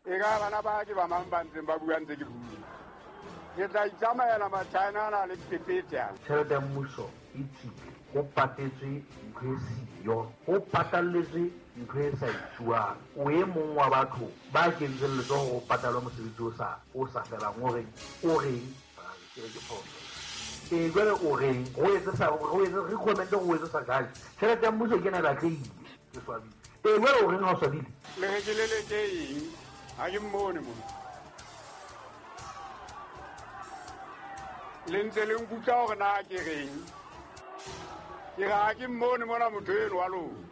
E ka bana ba ke ba mang ba ntseng ba bua ntse ke bua. Ke tla itsamaela Machina ana le pepete ana. Tjhelete ya mmuso e tswile, ho patetswe ntho e siyo, ho patalletswe ntho e sa etsuwang. O e mong wa batho ba kentseng letsoho hore ho patalwe mosebetsi o sa o sa felang. O reng? O reng? Ke re ke phoso. Ee, jwale o reng? Re o etse sa re o etse recommend re o etse sa judge. Tjhelete ya mmuso ke ena e lahlehile. Ke swabile. Ee, jwale o reng ha o swabile? Le re ke leleke eng? Ha ke mmone mona. Le ntse le nkutlwa hore na ke reng? Ke re ha ke mmone mona motho eno wa lona.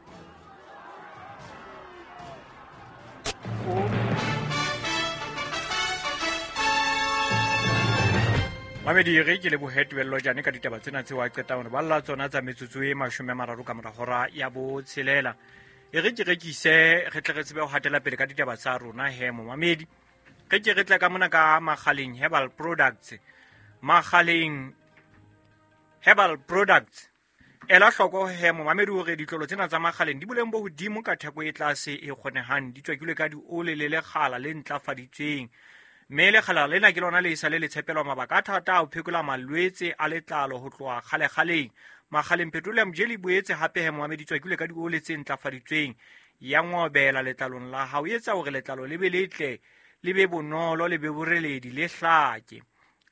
Mamedi re ke lebohe tebello jane ka ditaba tsena tseo a qetang hore balla tsona tsa metsotso e 30 ka mora hora ya botshelela. E re ke rekise re tle re tsebe ho hatela pele ka ditaba tsa rona he momamedi. Re ke re tle ka mona ka Magaleng Herbal Products. Magaleng Herbal Products. Ela hloko he momamedi hore ditlolo tsena tsa Magaleng di boleng bo hodimo ka theko e tlase e kgonehang, di tswakilwe ka diole le lekgala le ntlafaditsweng. Mme lekgala lena ke lona le sa le le tshepelwa mabaka a thata a ho phekola malwetse a letlalo ho tloha kgalekgaleng. Magaleng Petroleum Jelly boetse hape he momamedi tswakilwe ka diole tse ntlafaditsweng, ya ngobela letlalong la hao, e etsa hore letlalo le be letle, le be bonolo, le be boreledi, le hlake.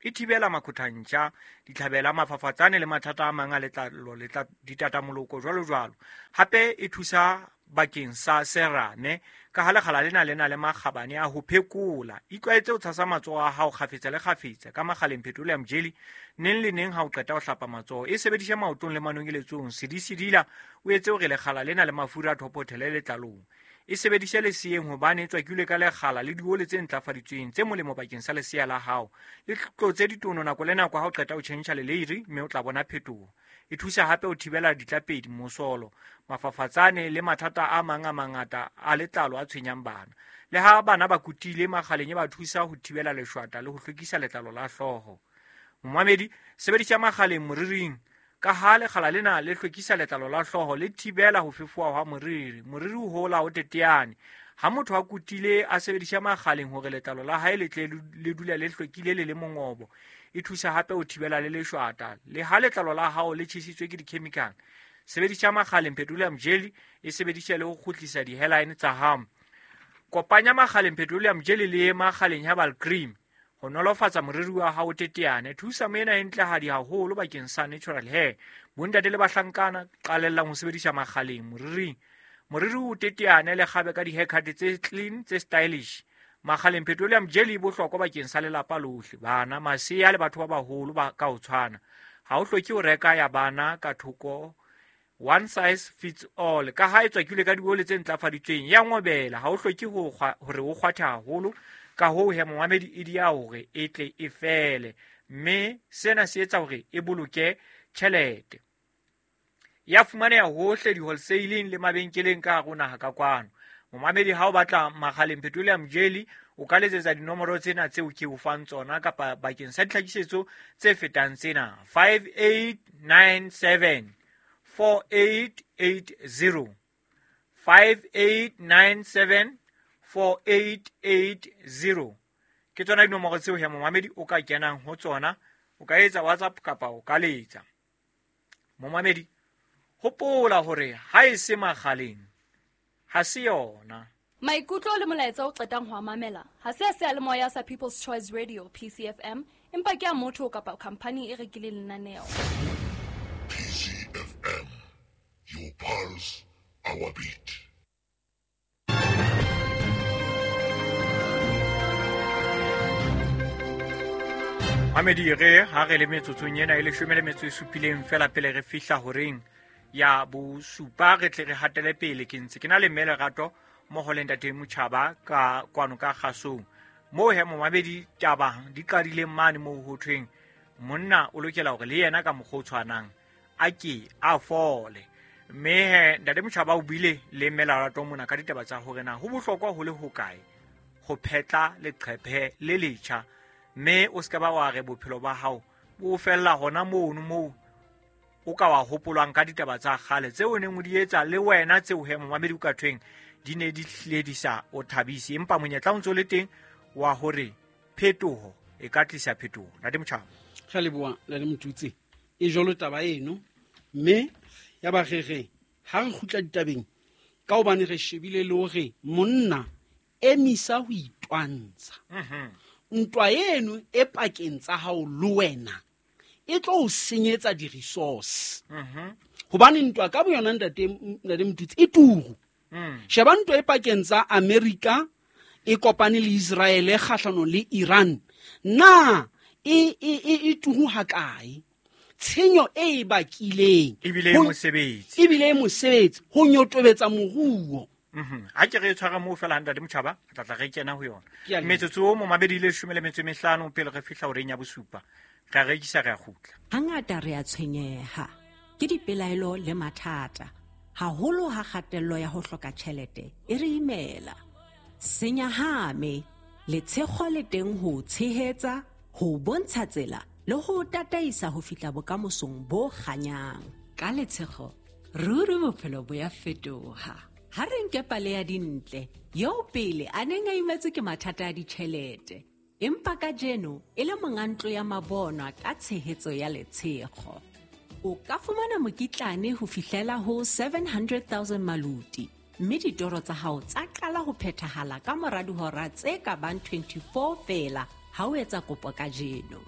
E thibela makhothantša, ditlhabela, mafafatsane le mathata a mang a letlalo, ditatamoloko jwalo jwalo. Hape e thusa bakeng sa serame ka ha lekgala lena le na le makgabane a ho phekola. Itlwaetse ho tshasa matsoho a hao kgafetsa le kgafetsa ka Magaleng Petroleum Jelly neng le neng ha o qeta ho hlapa matsoho. E sebedise maotong le manongeletsong, sedisedila o etse hore lekgala lena le mafura a thophothele letlalong. E sebedise leseeng hobane e tswakilwe ka lekgala le diole tse ntlafaditsweng tse molemo bakeng sa lesea la hao. Le tlotse ditono nako le nako ha o qeta ho tjhentjha leleiri mme o tla bona phetoho. E thusa hape ho thibela ditlapedi, mosolo, mafafatsane le mathata a mang a mangata a letlalo a tshwenyang bana. Le ha bana ba kutile, Magaleng e ba thusa ho thibela leshwata le ho hlwekisa letlalo la hlooho. Momamedi, sebedisa Magaleng moriring ka ha lekgala lena le hlwekisa letlalo la hlooho, le thibela ho fefowa hwa moriri. Moriri o hola o teteane. Ha motho a kutile a sebedisa Magaleng hore letlalo la hae le tle le dule le hlwekile le le mongobo. E thusa hape ho thibela le leshwata. Le ha letlalo la hao le tjhesitswe ke di-chemical, sebedisa Magaleng Petroleum Jelly, e sebedise le ho kgutlisa di-hairline tsa hao. Kopanya Magaleng Petroleum Jelly le Magaleng Herbal Cream ho nolofatsa moriri wa hao teteane. Thusa moena e ntlehadi haholo bakeng sa natural hair. Bontate le bahlankana qalellang ho sebedisa Magaleng moriring. Moriri o teteane le kgabe ka di-haircut tse clean, tse stylish. Magaleng Petroleum Jelly e bohlokwa bakeng sa lelapa lohle, bana, masea le batho ba baholo ba ka ho tshwana. Ha o hloke ho reka ya bana ka thoko, one size fits all. Ka ha e tswakilwe ka diole tse ntlafaditsweng, ya ngobela, ha o hloke hore o kgwathe haholo. Ka hoo he momamedi e dia hore e tle e fele, mme sena se etsa hore e boloke tjhelete. Ya fumaneha hohle di-wholesaling le mabenkeleng ka hare ho naha ka kwano. Momamedi ha o batla Magaleng Petroleum Jelly, o ka letsetsa dinomoro tsena tseo ke o fang tsona kapa bakeng sa ditlhakisetso tse fetang tsena: 5897 4880, 5897 4880. Ke tsona dinomoro tseo he momamedi o ka kenang ho tsona, o ka etsa WhatsApp kapa o ka letsa. Momamedi, hopola hore ha e se Magaleng ha se yona. Maikutlo le molaetsa o qetang ho a mamela ha se a seyalemoya sa People's Choice Radio PCFM, empa ke a motho kapa khampani e rekileng lenaneo. PCFM, your pulse, our beat. Mamedi re ha re le metsotsong ena e leshome le metso e supileng fela pele re fihla horeng ya bosupa, re tle re hatele pele. Ke ntse ke na le mme Lerato mmoho le ntate Motjhaba ka kwano ka kgasong. Moo he momamedi taba di qadileng mane moo ho thweng monna o lokela hore le yena ka mokgwa o tshwanang a ke a fole. Mme he ntate Motjhaba o buile le mme Lerato mona ka ditaba tsa hore na ho bohlokwa ho le hokae ho phetla leqephe le letjha, mme o se ka ba wa re bophelo ba hao bo fella hona mono moo o ka wa hopolwang ka ditaba tsa kgale tseo o neng o di etsa le wena, tseo he momamedi o ka thweng di ne di hlile di sa o thabise, empa monyetla o ntse o le teng wa hore phetoho e ka tlisa phetoho. Ntate Motjhaba. Re leboha Ntate Motutsi. E jwalo taba eno, mme ya ba re re ha re kgutla ditabeng ka hobane re shebile le hore monna emisa ho itwantsha. Ntwa eno e pakeng tsa hao le wena e tlo o senyetsa di-resource. Hobane ntwa ka boyona ntate Motutsi e turu. Sheba ntwa e pakeng tsa America e kopane le Israel kgahlanong le Iran. Na e turu hakae? Tshenyo e bakileng ebile e mosebetsi ho nyotobetsa moruo. Ha ke re tshwara moo fela Ntate Motjhaba, re tla tla re kena ho yona. Metsotso o mo mabedi le 15 pele re fihla horeng ya bosupa. Re rekisa re a kgutla. Hangata re a tshwenyeha ke dipelaelo le mathata, haholo ha kgatello ya ho hloka tjhelete e re imela. Senyahame letshego le teng ho tshehetsa, ho bontsha tsela le ho tataisa ho fihla bokamosong bo kganyang. Ka letshego ruri bophelo bo ya fetoha. Ha re nke pale ya Dintle eo pele a neng a imetswe ke mathata a ditjhelete, empa kajeno e le monga ntlo ya mabonwa ka tshehetso ya letshego. O ka fumana mokitlane ho fihlela ho 700,000 maluti, mme ditoro tsa hao tsa qala ho phethahala ka mora dihora tse ka bang 24 feela ha o etsa kopo kajeno.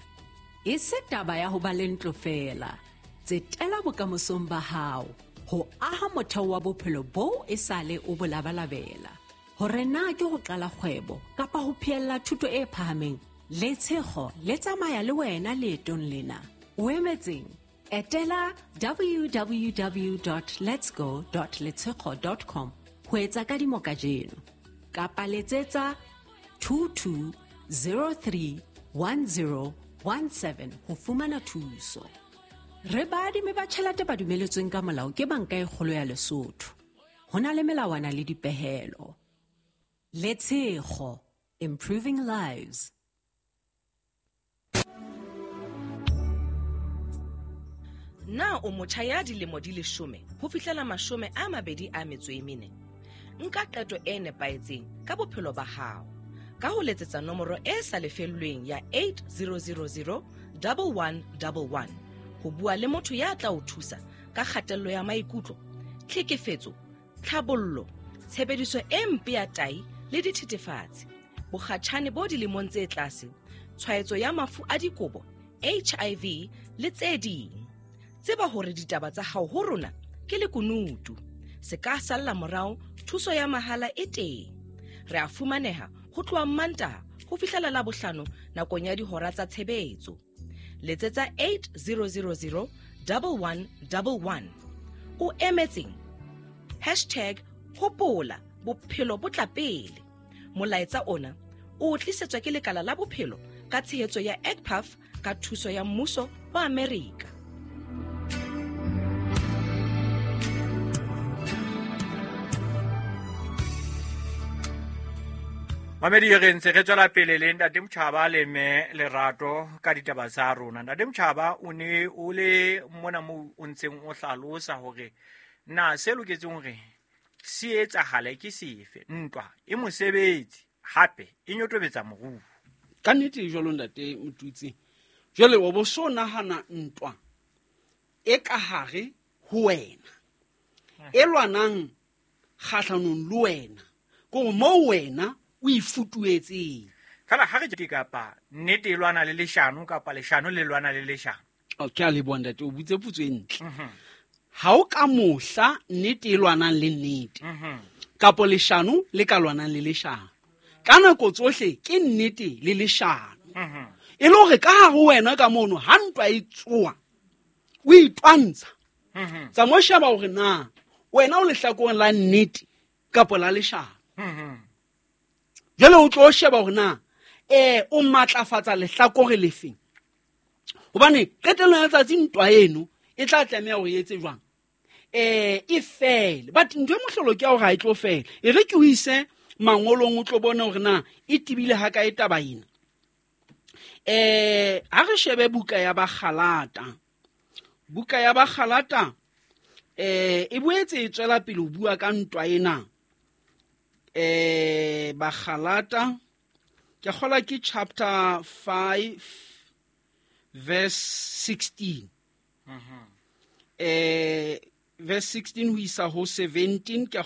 E se taba ya ho ba le ntlo feela, tsetela bokamosong ba hao ho aha motheo wa bophelo boo e sale o bo labalabela. Hore na ke ho qala kgwebo kapa ho phehella thuto e phahameng, letshego le tsamaya le wena leetong lena. O emetseng? Etela www.letsgo.letshego.com ho etsa kadimo kajeno, kapa letsetsa 22031017 ho fumana thuso. Re baadimi ba tjhelete ba dumeletsweng ka molao ke Banka e Kgolo ya Lesotho. Ho na le melawana le dipehelo. Letshego, improving lives. Na o motjha ya dilemo di 10 ho fihlela 24? Nka qeto e nepahetseng ka bophelo ba hao ka ho letsetsa nomoro e sa lefellweng ya 8000 1111 ho bua le motho ya tla o thusa ka kgatello ya maikutlo, tlhekefetso, tlhabollo, tshebediso e mpe ya tai le dithethefatsi, bokgatjhane bo dilemong tse tlase, tshwaetso ya mafu a dikobo, HIV le tse ding. Tseba hore ditaba tsa hao ho rona ke lekunutu. Se ka salla morao, thuso ya mahala e teng. Re a fumaneha ho tloha Mantaha ho fihlela Labohlano nakong ya dihora tsa tshebetso. Letsetsa 8000 1111. O emetseng? #hopola bophelo bo tla pele. Molaetsa ona o tlisetswa ke lekala la bophelo ka tshehetso ya ECPAF ka thuso ya mmuso wa Amerika. Mamedi re ntse re tswela pele le Ntate Motjhaba le mme Lerato ka ditaba tsa rona. Ntate Motjhaba, o ne o le mona moo o ntseng o hlalosa hore na se loketseng hore se etsahale ke sefe. Ntwa e mosebetsi hape e nyotobetsa moruo. Ka nnete jwalo Ntate Motutsi, jwale o bo so nahana ntwa e ka hare ho wena e lwanang kgahlanong le wena, kore moo wena o ifutuetseng. Fela ha re ke kapa nnete e lwana le leshano kapa leshano le lwana le leshano. Okay, a leboha ntate, o butse potso e ntle. Ha o ka mohla nnete e lwanang le nnete kapo leshano le ka lwanang le leshano, ka nako tsohle ke nnete le leshano. E le hore ka hare ho wena ka mono ha ntwa e tsoa o itwantsha, tsa mo sheba hore na wena o lehlakoreng la nnete kapo la leshano. Jwale o tlo sheba hore na o matlafatsa lehlakore lefeng, hobane qetellong ya letsatsi ntwa eno e tla tlameha hore e etse jwang, e fele. But ntho e mohlolo ke ya hore ha e tlo fela. E re ke o ise mangolong o tlo bone hore na e tebile hakae taba ena. Ha re shebe buka ya Bagalata. Buka ya Bagalata e boetse e tswela pele ho bua ka ntwa ena. Bagalata ke kgola ke chapter 5 verse 16. Verse 16 ho isa ho 17 ke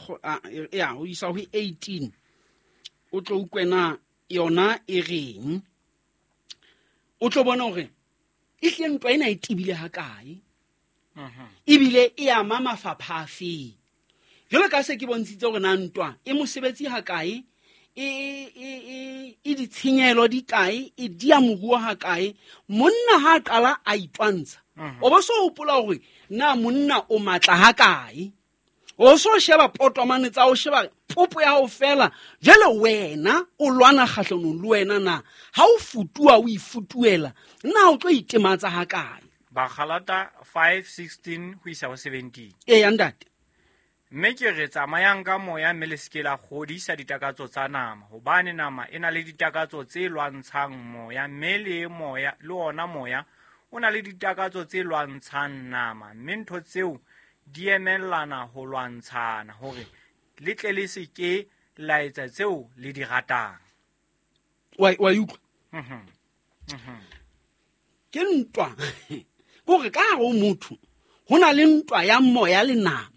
ya ho isa ho 18. O tlo utlwena yona e reng, o tlo bona hore e hlile ntwa ena e tebile hakae, ebile e ama mafapha a feng. Jwalo ka se ke bontshitse hore na ntwa e mosebetsi hakae, e ditshenyehelo di kae, e dia moruo hakae. Monna ha a qala a itwantsha, o bo so hopola hore na monna o matla hakae, o so sheba potomane tsa o sheba popo ya hao fela. Jwale wena o lwana kgahlanong le wena, na ha o futuwa o ifutuela, na o tlo itematsa hakae? Bagalata 5:16 ho isa ho 17. Eya ntate. Mme ke re tsamayang ka moya, mme le seke la kgodisa ditakatso tsa nama, hobane nama e na le ditakatso tse lwantshang moya, mme le moya le ona moya o na le ditakatso tse lwantshang nama, mme ntho tseo di emellana ho lwantshana, hore le tle le se ke la etsa tseo le di ratang. Wa utlwa? Ke ntwa. Kore ka hare ho motho ho na le ntwa ya moya le nama.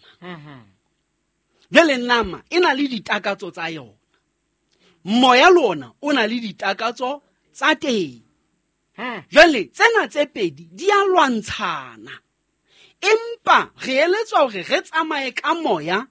Jwale nama e na le ditakatso tsa yona, moya le ona o na le ditakatso tsa teng. Jwale tsena tse pedi di a lwantshana, empa re eletswa hore re tsamaye ka moya,